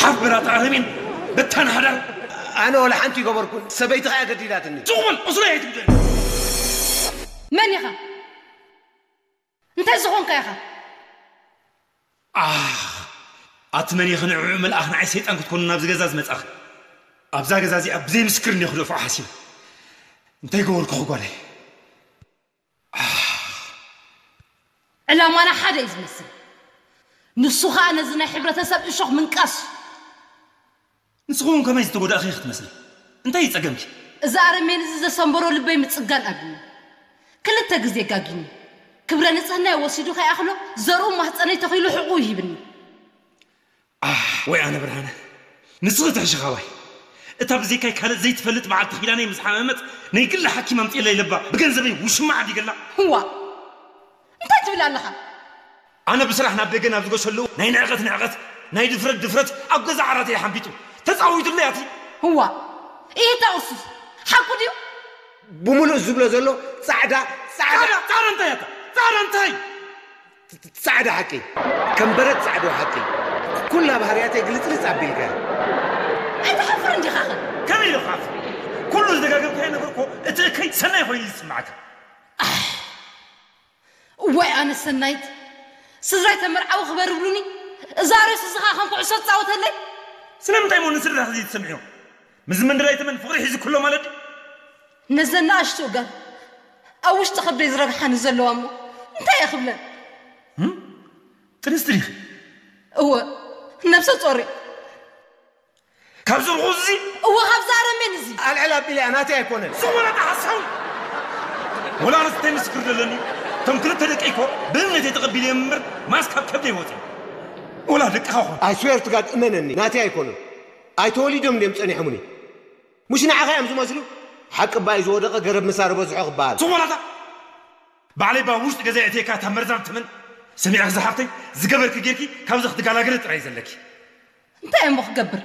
ሓፍ በላ፣ ኣረሜን በታን ሓዳር። ኣነ ወላ ሓንቲ ይገበርኩን፣ ሰበይቲ ኸኣ ገዲዳትኒ። ትቑበል፣ ቁስለይ ኣይትጉድእ። መን ኢኻ? እንታይ ዝኾንካ ኢኻ? ኣህ፣ ኣቲ መን ኢኺ ንዕዑ መልኣኽ ንዓይ ሰይጣን ክትኮኑ ናብዚ ገዛ ዝመጻኺ? ኣብዛ ገዛ እዚኣ ብዘይ ምስክር እንዲኹ ክደፍዖ ሓሲበ። እንታይ ገበርኩኺ ጓለይ? ኣህ። ዕላማና ሓደ እዩ ዝመስል። ንሱ ኸኣ ነዚ ናይ ሕብረተሰብ እሾኽ ምንቃስ። ንስኺ እውን ከመይ ዝተጎዳእኺ ክትመስሊ? እንታይ እዩ ጸገምኪ? እዚ ኣረሜን እዚ ዘሰንበሮ ልበይ ምጽጋን ኣብዩኒ። ክልተ ግዜ ጋጊኒ። ክብረ ንጽህናይ ወሲዱ ከይኣኽሎ ዘርኡ ማህጸነይ ተኺሉ ሕቑ ይሂብኒ። ኣህ፣ ወይ ኣነ ብርሃነ። ንስኺ ትሕሺ ካባይ። እታ ብዘይካይ ካልእ ዘይትፈልጥ በዓልቲ ኪዳነይ ምስ ሓመመት ናይ ግሊ ሓኪም ኣምጽእለይ ኢለባ ብገንዘበይ ውሽማ ዓዲገላ። ህዋ፣ እንታይ ትብል ኣለኻ? ኣነ ብስራሕ ናብ ደገ ናብ ዝገሸሉ ናይ ንዕቐት ንዕቐት፣ ናይ ድፍረት ድፍረት ኣብ ገዛ ዓራተይ ሓንቢጡ ተጻዊቱለይ ኣቲ። ህዋ፣ ይህታ ኡሱስ ሓቁ ድዩ? ብምሉእ ዝብሎ ዘሎ ጻዕዳ፣ ጻዕዳ፣ ጻዕዳ፣ ጻዕዳ እንታይ ኣታ? ጻዕዳ እንታይ? ጻዕዳ ሓቂ። ከም በረድ ጻዕዳ ሓቂ። ኩላ ባህርያተይ ግልጽልጽ ኣቢልካ። ኣይትሓፍርን ዲኻኸ? ከመይ ኢለ ክሓፍር? ኩሉ ዝደጋገምካዮ ነገር እኮ እቲ እከይ ሰናይ ኮይኑ እዩ ዝስምዓካ። እዋይ ኣነ ሰናይት፣ ስድራይ ተመርዓዊ ክበር ይብሉኒ፣ እዛ ሬስ እዚ ኸዓ ከም ኩዕሶ ትጻወተለይ። ስለምንታይ እሞ ንስድራኺ ዘይትሰምዕዮ? ምስዚ መንደላይ ተመን ፍቕሪ ሒዙ ክሎ ማለት ድዩ? ነዘን ንኣሽቱ እጋል ኣብ ውሽጢ ከብደይ ዝረግሓኒ ዘለዋ እሞ እንታይ እየ ክብለን? እም? ጥንስቲ ዲኺ? እወ፣ ነብሰ ጾር እየ። ካብዚ ርኹስ እዚ? እወ፣ ካብዚ ኣረሜን እዚ። ኣልዕል ኣቢለያ ናተይ ኣይኮነን። ዝወለደ ሓሳዊ። ወላ ኣነስ እንታይ ምስክር ዘለኒ? እቶም ክልተ ደቀይ እኮ ብእምነተይ ተቐቢለዮም እምበር ማስ ካብ ከብደይ ወፂኦም። ወላ ደቅኻ ኾን። I swear to God እመነኒ፣ ናተይ ኣይኮኑን። ኣይተወሊዶም ድዮም ጸኒሖምኒ። ሙሽ ንዓኻ እዮም ዝመስሉ። ሓቂ እባ እዩ ዝወደቐ ገረብ ምሳር በዝሖ ክበሃል። ዝኾናታ ባዕለይ ባ ውሽጢ ገዛ እተካ እታ መርዛም ትመን ሰሚዕኺ ዝሓፍተይ ዝገበርኪ ጌርኪ ካብዚ ክትገላገሊ ጥራይ ዘለኪ። እንታይ እሞ ክገብር?